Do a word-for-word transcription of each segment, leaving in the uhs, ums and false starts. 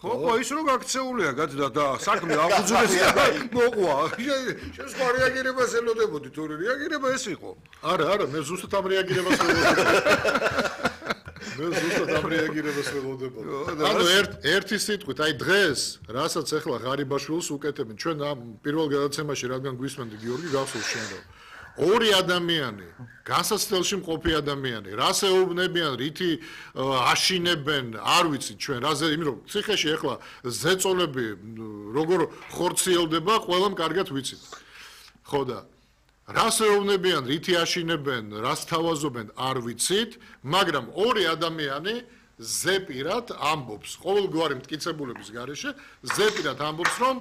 ხო, ის რო გაქცეულია გადა და საქმე აღუძრეს და მოყვა. შენ სხვა რეაგირებას ელოდებოდი, თორე რეაგირება ეს იყო. არა, არა, მე ზუსტად ამ რეაგირებას ველოდებოდი. მე ზუსტად ამ რეაგირებას ველოდებოდი. ანუ ერთ ერთი სიტყვით, აი დღეს, რასაც ახლა ღარიბაშვილს უკეთებენ, ჩვენ ამ პირველ გადაცემაში რადგან გვისმენდი გიორგი გახსოვს შენ რა. ორი ადამიანი, განსაცდელში მყოფი ადამიანი, რას ეუბნებიან, რითი აშინებენ, არ ვიცით ჩვენ, რაზე, იმიტომ რომ ციხეში ახლა ზეწოლები როგორ ხორციელდება, ყველამ კარგად ვიცით. ხო და რას ეუბნებიან, რითი აშინებენ, რას თავაზობენ, არ ვიცით, მაგრამ ორი ადამიანი ზეპირად ამბობს, ყოველგვარი მტკიცებულების გარეშე, ზეპირად ამბობს, რომ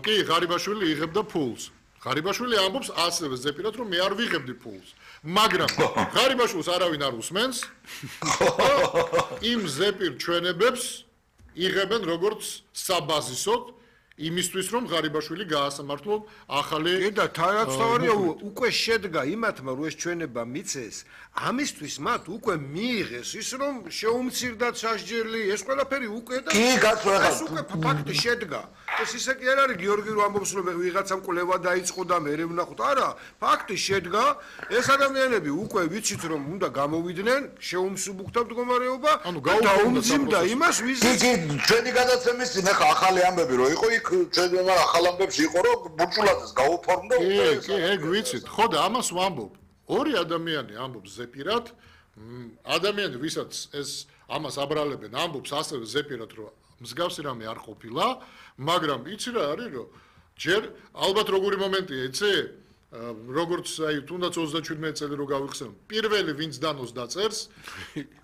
კი, ღარიბაშვილი იღებდა ფულს. ღარიბაშვილი ამბობს ასევე ზეპირად, რომ მე არ ვიღებდი ფულს. მაგრამ ღარიბაშვილს არავინ არ უსმენს. იმ ზეპირ ჩვენებებს იღებენ როგორც საბაზისოდ იმისთვის, რომ ღარიბაშვილი გაასამართლონ ახალი და თანაც თავარია უკვე შედგა იმათმა, რომ ეს ჩვენება მიცეს, ამისთვის მათ უკვე მიიღეს ის, რომ შეუმცირდათ სასჯელი, ეს ყველაფერი უკვე და კი, გასვლა. ეს უკვე ფაქტი შედგა. ეს ისე კი არ არის გიორგი რომ ამბობს რომ ვიღაცამ კვლევა დაიწყო და მე ვნახოთ. არა, ფაქტი შედგა. ეს ადამიანები უკვე ვიცით რომ უნდა გამოვიდნენ შეუმსუბუქთა მდგომარეობა და დაუმძიმდა იმას ვის კი, კი, ჩვენი გადაცემის წინ ახლა ახალი ამბები რო იყო, იქ ჩვენ ახალ ამბებში იყო რომ ბურჭულაძეს გაუფორმდა უკვე. კი, კი, ეგ ვიცით. ხო და ამას ვამბობ. ორი ადამიანი ამბობს ზეპირად, ადამიანი ვისაც ეს ამას აბრალებენ, ამბობს ასევე ზეპირად რომ მსგავსი რამე არ ყოფილა, მაგრამ იცი რა არის რომ ჯერ ალბათ როგორი მომენტია, იცი? როგორც აი თუნდაც ოცდაშვიდმეტი წელი რო გავიხსენო, პირველი ვინც დანოს დაწერს,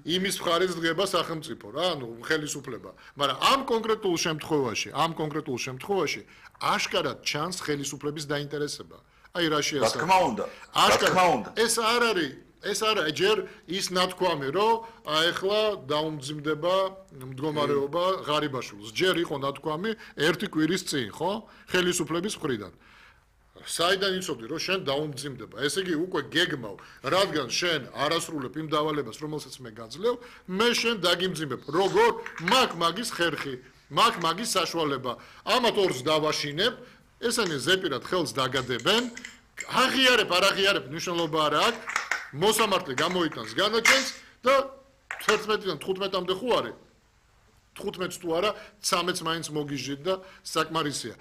იმის მხარეს დგება სახელმწიფო რა, ანუ ხელისუფლება. მაგრამ ამ კონკრეტულ შემთხვევაში, ამ კონკრეტულ შემთხვევაში აშკარად ჩანს ხელისუფლების დაინტერესება. აი რაში ასე. რა თქმა უნდა. რა თქმა უნდა. ეს არ არის ეს არა ჯერ ის ნათქვამი, რომ აეხლა დაუმძიმდება მდგომარეობა ღარიბაშვილს. ჯერ იყო ნათქვამი ერთი კვირის წინ, ხო? ხელისუფლების მხრიდან. საიდან იცოდი, რომ შენ დაუმძიმდება. ესე იგი უკვე გეგმავ, რადგან შენ არასრულებ იმ დავალებას, რომელსაც მე გაძლევ, მე შენ დაგიმძიმებ. როგორ? მაგ მაგის ხერხი, მაგ მაგის საშუალება. ამათ ორს დავაშინებ, ესენი ზეპირად ხელს დაგადებენ. აღიარებ, არ აღიარებ, მნიშვნელობა არ აქვს. მოსამართლე გამოიტანს განაჩენს და თერთმეტიდან თხუთმეტამდე ხო არის? თხუთმეტს თუ არა, ცამეტს მაინც მოგიჟდით და საკმარისია.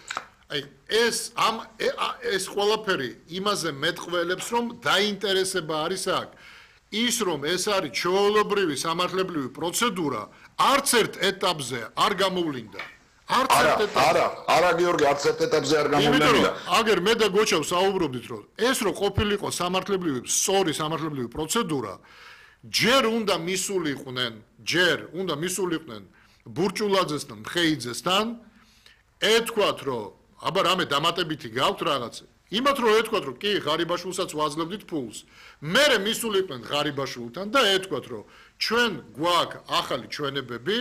აი ეს ამ ეს ყველაფერი იმაზე მეტყველებს, რომ დაინტერესება არის აქ. ის რომ ეს არის ჩვეულებრივი სამართლებრივი პროცედურა, არც ერთ ეტაპზე არ გამოვლინდა. არც ერთ ეტაპზე. არა, არა გიორგი, არც ერთ ეტაპზე არ გამოვლინდა. აგერ მე და გოჩა საუბრობდით, რომ ეს რო ყოფილიყო სამართლებრივი, სწორი სამართლებრივი პროცედურა, ჯერ უნდა მისულიყვნენ, ჯერ უნდა მისულიყვნენ ბურჭულაძესთან, მხეიძესთან, ეთქვათ, რომ აბა რამე დამატებითი გაქვთ რაღაც. იმათ რომ ეთქვათ, რომ კი, ღარიბაშვილსაც ვაძლევდით ფულს. მერე მისულიყვნენ ღარიბაშვილთან და ეთქვათ, რომ ჩვენ გვაქვს ახალი ჩვენებები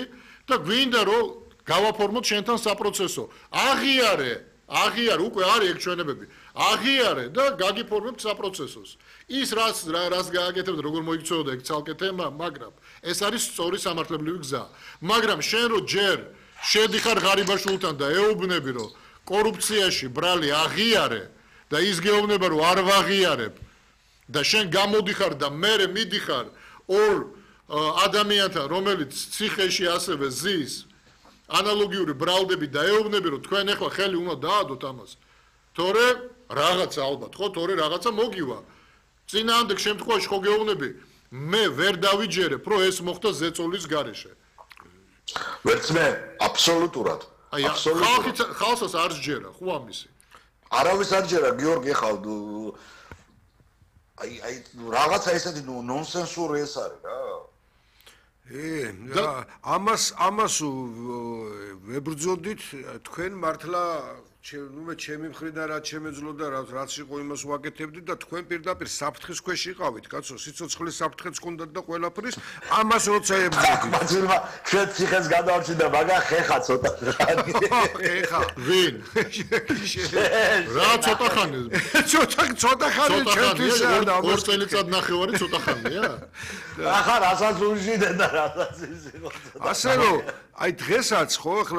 და გვინდა რომ გავაფორმოთ შენთან საპროცესო. აღიარე, აღიარე, უკვე არის ეგ ჩვენებები. აღიარე და გაგიფორმებთ საპროცესოს. ის რაც რას გააკეთებთ, როგორ მოიქცეოდა ეგ ცალკე თემა, მაგრამ ეს არის სწორი სამართლებრივი გზა. მაგრამ შენ რო ჯერ შედიხარ ღარიბაშვილთან და ეუბნები, რომ კორუფციაში ბრალი აღიარე და ის გეუბნება, რომ არ ვაღიარებ და შენ გამოდიხარ და მერე მიდიხარ ორ ადამიანთან, რომელიც ციხეში ასევე ზის ანალოგიური ბრალდები და ეუბნები, რომ თქვენ ახლა ხელი უნდა დაადოთ ამას. თორე რაღაცა ალბათ, ხო, თორე რაღაცა მოგივა. წინააღმდეგ შემთხვევაში ხო გეუბნები, მე ვერ დავიჯერებ, რომ ეს მოხდა ზეწოლის გარეშე. ვერც მე, აბსოლუტურად. აი, ხალხი ხალხს არ სჯერა, ხო ამისი. არავის არ სჯერა, გიორგი, ხალ აი, აი, რაღაცა ესეთი ნონსენსური ეს არის რა. ე, ამას ამას ვებრძოდით, თქვენ მართლა ნუ მე ჩემი მხრიდან რაც შემეძლო და რაც იყო იმას ვაკეთებდით და თქვენ პირდაპირ საფრთხის ქვეშ იყავით, კაცო, სიცოცხლის საფრთხეც ჰქონდათ და ყველაფრის, ამას როცა ებრძოდით. მაცილმა ჩვენ ციხეს გადავარჩინდა, მაგრამ ხეხა ცოტა ხანი. ხეხა. ვინ? რა ცოტა ხანი? ცოტა ცოტა ხანი ჩვენთვის არა. ორ წელიწად ნახევარი ცოტა ხანია? ახლა რასაც უჟიდენ და რასაც ის იყო. ასე რომ, აი დღესაც ხო